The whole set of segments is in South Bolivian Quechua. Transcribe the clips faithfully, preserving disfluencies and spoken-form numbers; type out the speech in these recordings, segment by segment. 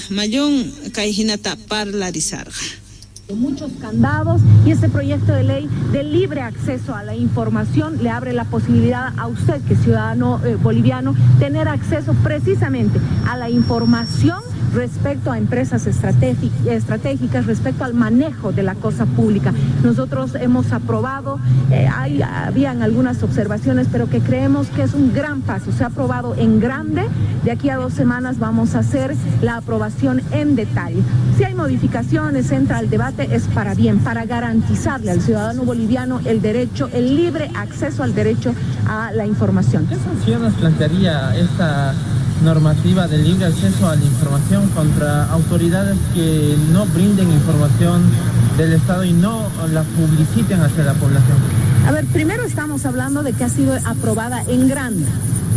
Mallón kay hinata parlarisarqa. Muchos candados y este proyecto de ley de libre acceso a la información le abre la posibilidad a usted, que es ciudadano eh, boliviano, tener acceso precisamente a la información respecto a empresas estratégicas, respecto al manejo de la cosa pública. Nosotros hemos aprobado, eh, hay, habían algunas observaciones, pero que creemos que es un gran paso. Se ha aprobado en grande, de aquí a dos semanas vamos a hacer la aprobación en detalle. Si hay modificaciones, entra al debate, es para bien, para garantizarle al ciudadano boliviano el derecho, el libre acceso al derecho a la información. ¿Qué sanciones plantearía esta normativa de libre acceso a la información contra autoridades que no brinden información del Estado y no la publiciten hacia la población? A ver, primero estamos hablando de que ha sido aprobada en grande.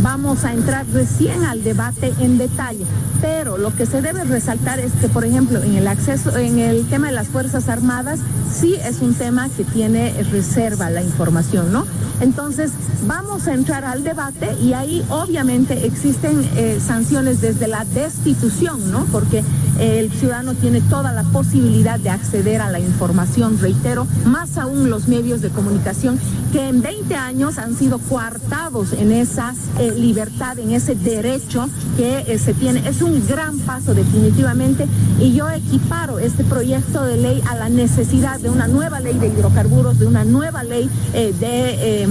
Vamos a entrar recién al debate en detalle, pero lo que se debe resaltar es que, por ejemplo, en el acceso, en el tema de las Fuerzas Armadas, sí es un tema que tiene reserva la información, ¿no? Entonces, vamos a entrar al debate y ahí obviamente existen eh, sanciones desde la destitución, ¿no? Porque el ciudadano tiene toda la posibilidad de acceder a la información, reitero, más aún los medios de comunicación que en veinte años han sido coartados en esa eh, libertad, en ese derecho que eh, se tiene. Es un gran paso definitivamente y yo equiparo este proyecto de ley a la necesidad de una nueva ley de hidrocarburos, de una nueva ley eh, de, eh,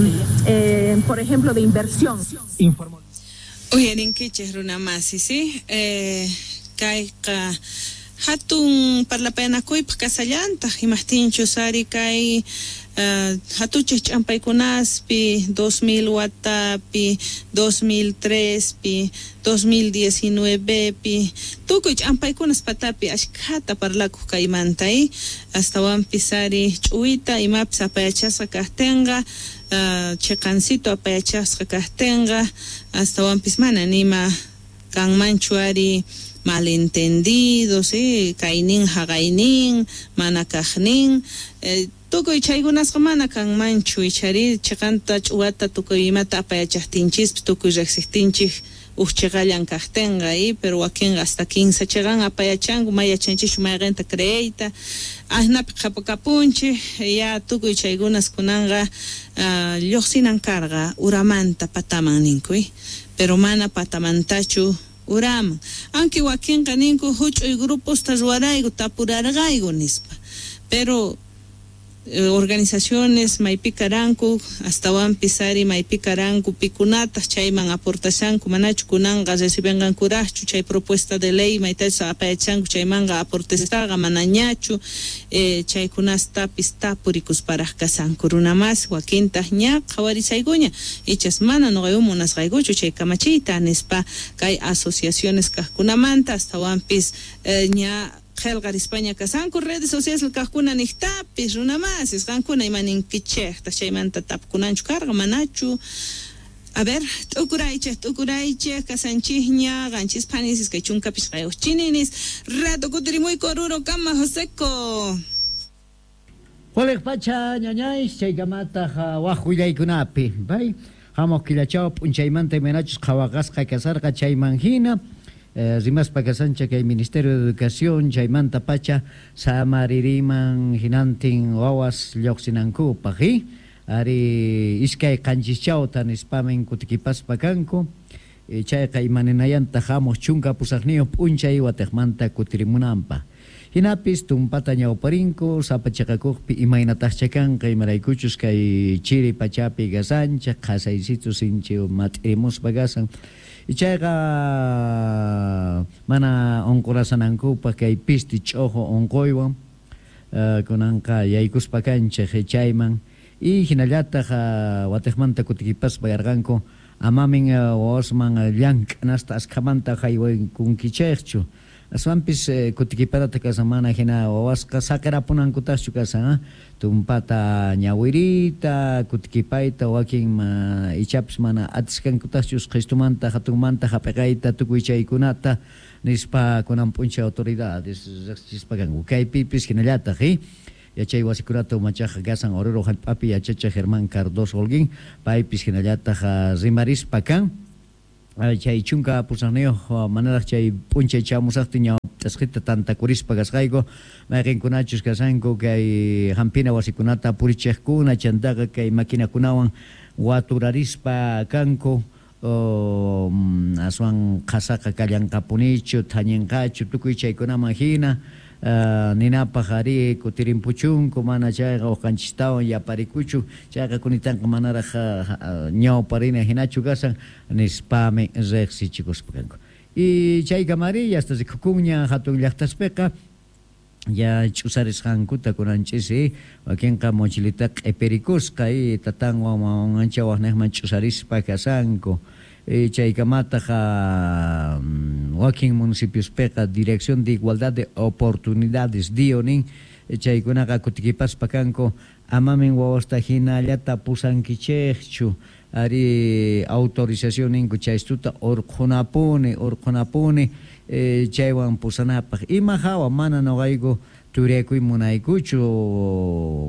eh, por ejemplo, de inversión. Informó. Uyarinkichej runamasi, ¿sí? Eh... Kayqa hatun parlapayanakuypaq kasallantaq imajtinchus ari kay uh, hatuchej ch'ampaykunaspi dos mil watapi, dos mil trespi, dos mil diecinuevepi tukuy ch'ampaykunas patapi ashkhata parlakuq kaymanta eh? Astawanpis ari ch'uwita imapis apayachasqa kajtinqa uh, chiqancito apayachasqa kajtinqa astawanpis mana nima kanmanchu ari malentendidos, eh, kaynin haqaynin, mana kaqnin, eh, tukuy chaykunasqa mana kanmanchu ichari chiqanta ch'uwata tukuy imata apayachaqtinchispis tukuy riqsiqtinchik uj chiqallan kaqtinqa, eh, pero wakinqa hasta kinsa chiqan apayachanku may yachanchischu mayqinta creeyta asnapi qhapakapunchik ya tukuy chaykunas kunanqa uh, lluqsinan karqa uramanta pataman ninku, eh, pero mana patamantachu uraman, aunque wakinqa ninku huch'uy gruposta ruwarayku tapurarqayku nispa, pero eh, organizaciones maypi karanku astawanpis ari maypi karanku pikunataq chayman aportashanku manachu kunanqa recibenqankuraqchu chay propuesta de ley maytachu apayachanku chaymanqa aportestaqa manañachu eh, chaykunastapis tapurikusparaq kasanku runamas wakintaq ña qhawarisaykuña ichas mana nuqayku munasqaykuchu chay kamachiyta nispa kay asociaciones kaqkunamanta astawanpis eh, ña qhelqarispaña kasanku redes sociales kaqkuna niqtapis runamasis qankuna imaninkichejta chaymanta tapkunanchu karqa manachu. A ver, t'ukuraychej t'ukuraychej kasanchijña qanchis phanisis kay chunka pishqayuq chininis rato kutirimuyku Oruro kama Joseco. Waliq pacha ñañays chaykamataq waj willaykunapi bay hamuq killachaw p'unchaymanta imaynachus qhawaqasqa kasarqa chayman hina Eh, rimaspa kasancha kay Ministerio de Educación chaymanta pacha samaririman hinantin wawas lluqsinankupaq eh? Ari iskay qanchischawta nispamin kutikipaspa kanku eh, chayqa imaninayanta hamuq chunka pusaqniyuq p'unchay watiqmanta kutirimunanpaq hinapis tumpata ñawparinku sapa chiqakuqpi imaynataqcha kanqa imaraykuchus kay chiri pachapi kasancha qhasaysitu sinchi mat'irimuspa kasan chayqa mana unqurasanankupaq kay pisti ch'uqu unquywan uh, kunanqa yaykuspa kanchik chayman y hinallataq uh, watiqmanta kutikipaspa yarqanku amamin uh, wawasman llank'anasta askhamanta haywaykunkichikchu aswanpis eh, kutikiparata kasan mana hina wawasqa saqirapunankutaqchu kasan eh? Tumpata ñawirita kutikipayta wakin ma, ichapis mana atisqankutaqchu qhistumanta hatunmanta hap'iqayta tukuy chaykunata nispa kunan p'unchay autoridades riqsichispa kanku kaypipis hinallataq eh? Yachay wasikunata umachaq kasan Oruro hallp'api yachachiq Germán Cardoso Holguín paypis hinallataq rimarispa kan chay chunka pusaqniyuq manaraq chay p'unchay chamusaqtin t'asqita tantakurispa kasqayku mayqinkunachus kasanku kay hampina wasikunata purichiqkuna chantaqa kay maquinakunawan waturarispa kanku o, aswan qhasaqa kallanqapunichu thañinqachu tukuy chaykunaman hina Uh, ninapaq ari kutirimpuchunku mana chayqa uqanchistawan yaparikuchu chayqa kunitanqa manaraq uh, ñawparina hinachu kasan nispami riqsichikuspa kanku y chaykamari yasta rikukunña hatun llaqtaspiqa ya ch'usarisqankuta kunanchis wakinqa mochilita q'ipirikusqa y tatanwan wawanwan ancha waqniqman ch'usarispa kasanku chaykamataq wakin municipiospiqa Dirección de Igualdad de Oportunidades D I O nin chaykunaqa kutikipaspa kanku amamin wawasta hinallata pusankichikchu ari autorización ninku chaystuta urqhunapuni urqhunapuni chaywan pusanapaq ima hawa mana nuqayku turiakuy munaykuchu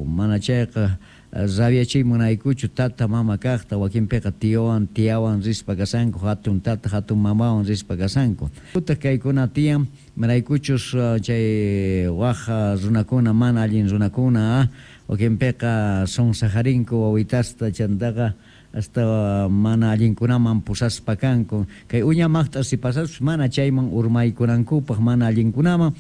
mana chayqa rabiachiy munaykuchu tata mama kaqta wakinpiqa tiowan tiawan rispa kasanku hatun tata hatun mamawan rispa kasanku utaq kaykuna tiyan maraykuchus chay waj runakuna mana allin runakuna wakinpiqa sonsajarinku wawitasta chantaqa hasta mana allinkunaman pusaspa kanku kay uña maqt'a si pasaspas mana chayman urmaykunankupaq mana allinkunaman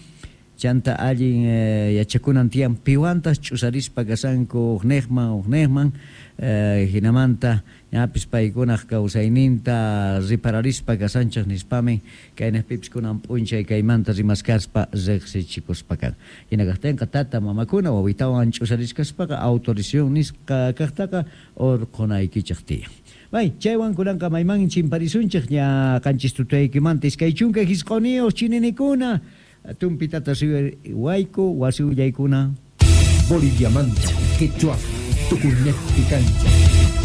chanta allin eh, yachakunan tiyan piwantas ch'usarispa kasanku uqniqman uqniqman eh, hinamanta ñapis paykunaq kawsayninta ripararispa kasanchaq nispami kaynaqpipis kunan p'unchay kaymanta rimaskaspa riqsichikuspa kan hina kaqtinqa tata mamakuna wawitawan ch'usariskaspaqa autorización nisqa kaqtaqa urqhunaykichaq tiyan. Bay, chaywan kunanqa mayman chimparisunchik ña qanchis tutaykimanta iskay chunka hisq'uniyuq chininikuna tumpitata wayku wasi willaykuna Boliviamanta, quechua, tukuynejpi kancha.